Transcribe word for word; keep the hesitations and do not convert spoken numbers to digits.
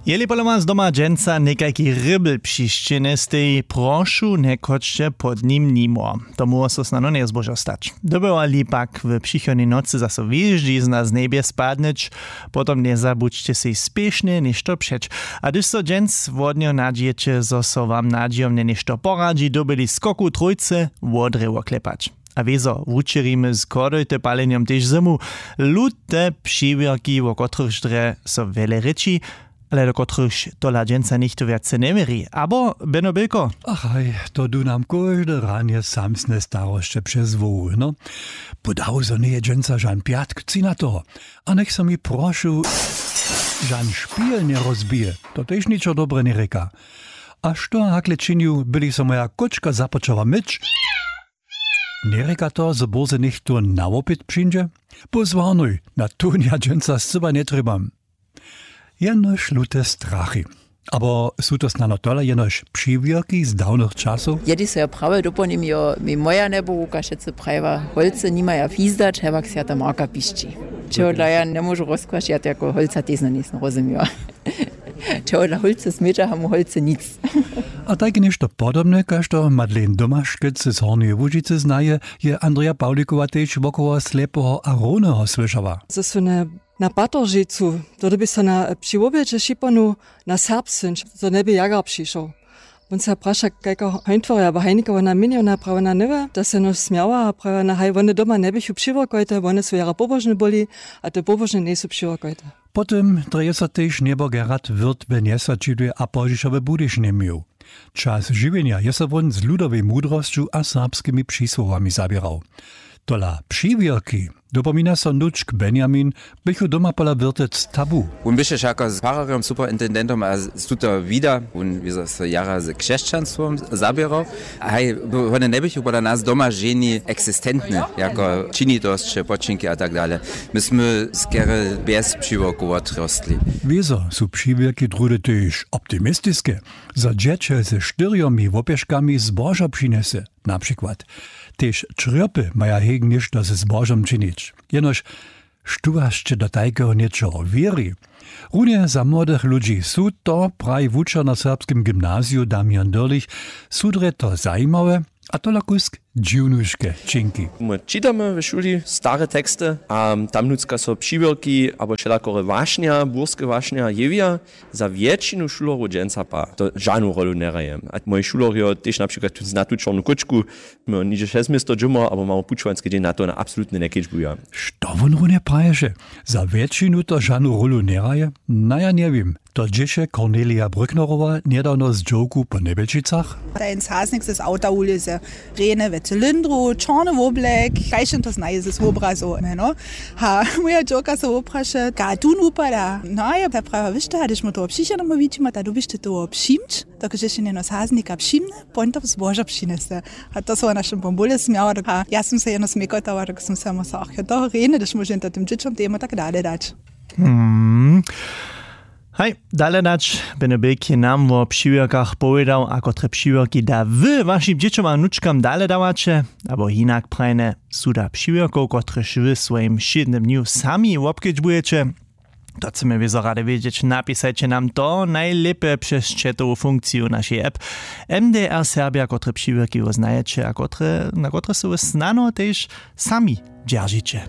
Jeli pola was doma dźensa někajki rěbl přišće njesteji, prošu, njechodźće pod nim nimo. To móhło so snano njezbožo stać. Dyrbjałali pak w přichodnej nocy zaso wěždźizna z njebje spadnyć, potom njezabudźće sej spěšnje něšto přeć. A hdyž so dźens wodnjo nadźijeće, zo so wam nadźijomnje něšto poradźi, dyrbjeli skoku trójce wodrje woklepać. A wězo wučerimy z chodojte palenjom tež zymu. Lute přiwěrki, wo kotrychž drje so wjele rěči, ale do kotrychž tola dźensa něchtó wjace njewěri. Abo, Beno Bělko? Ach haj, to du nam kóžde ranje samsne starosće přez hłowu, no. Podało zo njeje dźensa žan pjatk, tři na toho. A njech so mi, prošu, žan špil njerozbije, to tež ničo dobre njerěka. A što hakle činił, by-li so moja kóčka započała myć? Njerěka to, zo bórze něchtó na wopyt přińdźe? Pozwarnuj, na tón ja dźensa scyła njetrjebam. Jenož lute strachy. Abo su to snano tola jenož přiwěrki z dawnych časow? Jedi so ja prawje dopołnim, jo, mi moja njebohuka wšetcy prajiła, holcy nimaja fizdać, hewak swjata Marka pišći. Čehodla ja njemóžu rozkwašć, ja to jako holca tež njejsym rozumiła. Čehodla holcy smjeća, a mu holcy nic. A tajke něšto podobne, kaž to Madeleine Domaškec z Hornjeje Łužicy znaje, je Andreja Pawlikowa tež wokoło Slepeho a Rowneho słyšała. Zo su na, na Patoržejcu, to dyrbi so na, při wobjedźe šipanu na serbsce, zo njeby jagar přišoł. Wón se praša, kajka Heintworja abo Heinikeho na měnjo, wona prawa, wona njewě, to se jenož smjała a prawa, wona, haj, wone doma njeběchu přiwěrkojte, wone su jara pobožne byli, a te pobožne njejsu přiwěrkojte. Po tym drje so tež njebor Gerhard Wirth w Njesaćidłej a pozdźišo w Budyšinje měł. Čas žiwjenja je so wón z ludowej mudrosću a serbskimi přisłowami zaběrał. Tola přiwěrki, dopomina so wnučk Benjamin, běchu doma pola Wirtec tabu. Wón běše wšako z fararjom, superintendentom a z tuto wida, wón je so jara z křesćanstwom zaběrał. Haj, wone njeběchu pola nas doma ženi eksistentne, jako činitosće, počinki a tak dale. My smy skerje bjez přiwěrkow wotrostli. Wězo su přiwěrki druhdy tež optimistiske, zo dźěće ze štyrjomi wopěškami zbožo přinjese, na přikład. Tež črjopy maja heg něšto ze zbožom činić. Jenož, štó wasće do tajkeho něčeho wěri? Runje za młodych ludźi su to, praji wučer na serbskim gymnaziju Damian Dyrlich, su drje to zajimawe, a tola kusk dźiwnuške činki. My čitamy w šuli stare teksty a tam nutřka so přiwěrki abo wšelakore wašnja, burske wašnja jewja. Za wjetšinu šulerjow dźensa pa to žanu rolu njehraje. A moji šulerjo tež na přikład tu znatu čornu kóčku, my nihdźe šesć město dźěmo abo mamy pućowanski dźeń, na to wona absolutnje njekedźbuja. Što wón runje praješe? Za wjetšinu to žanu rolu njehraje? Na, ja njewěm. To dźěše Cornelia Brücknerowa njedawno z dźowku po Njebjelčicach. Tajn saznik z auta wulěze, rjene we cylindru, čorny woblek, kaž to znaje z wobrazow, ne, no. Ha, moja dźowka so wopraše, ka tón wupada. No a ja ta prawa, wiš to, a hdyž mu toho přišednemu widźimy, ta dyrbješ ty toho přimć, dokelž je něno saznika přimne, poń to zbožo přinese. A to so w našim bombule smjała, dok-, a ja sym se jeno smjekotała, dok sym se mu so, ach, jo, to rjene, hdyž móže to tym dźěćom temu tak dale dać. Hmm. Haj, dale dać, Beno Běk je nam wo přiwěrkach powědał, a kotre přiwěrki da wy wašim dźěćom a wnučkam dale dawaće, abo hinak prajne, su da přiwěrkow, kotrež wy swojim wšědnym dnju sami wobkedźbujeće? To chcemy wězo rady wědźeć, napisajće nam to najlěpje přez chatowu funkciju našej app. M D R Serbja, kotre přiwěrki wy znajeće a kotre, na kotre so wy snano tež sami dźeržiće.